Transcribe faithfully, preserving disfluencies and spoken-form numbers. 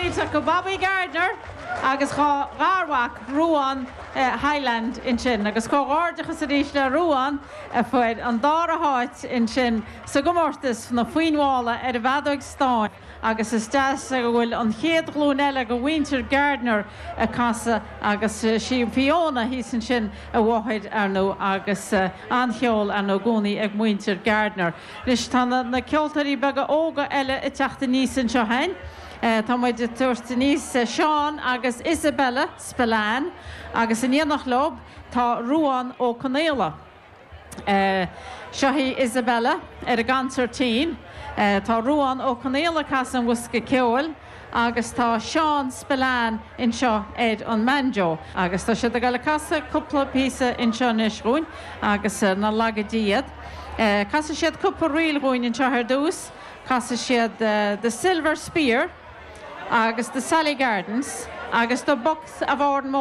iontach go Bobby Gardner agus dá gharmhac Ruán eh, Highland ansin agus comhghairdeachas arís le Ruán a fuair an dara háit ansin sa gcomórtas na foinmhála ar an bhfeadóg stáin agus is deas go bhfuil an chéad ghlúin eile de mhuintir Gardner ag casadh agus eh, sí Fiona thíos ansin a mháthair ar ndóigh agus eh, an-cheol ar ndóigh i gcónaí ag muintir Gardner. Anois tá na, na ceoltóirí beaga óga eile ag teacht aníos anseo féin. Uh, tá muid ag tabhairt aníos Seán agus Isabella Spillane agus in éineacht leo tá Ruán Ó Conaola. Uh, Seo í Isabella ar an gconsairtín, uh, tá Ruán Ó Conaola ag casadh an bhosca ceoil agus tá Seán Spillane anseo ar an mbanjo agus tá siad ag dul a chasadh cúpla píosa anseo anois dúinn agus uh, na laga diad. Uh, Casfaidh siad cúpla ríl dúinn anseo ar dtús, casfaidh siad uh, the Silver Spear agus the Sally Gardens agus the Bucks of Oranmore.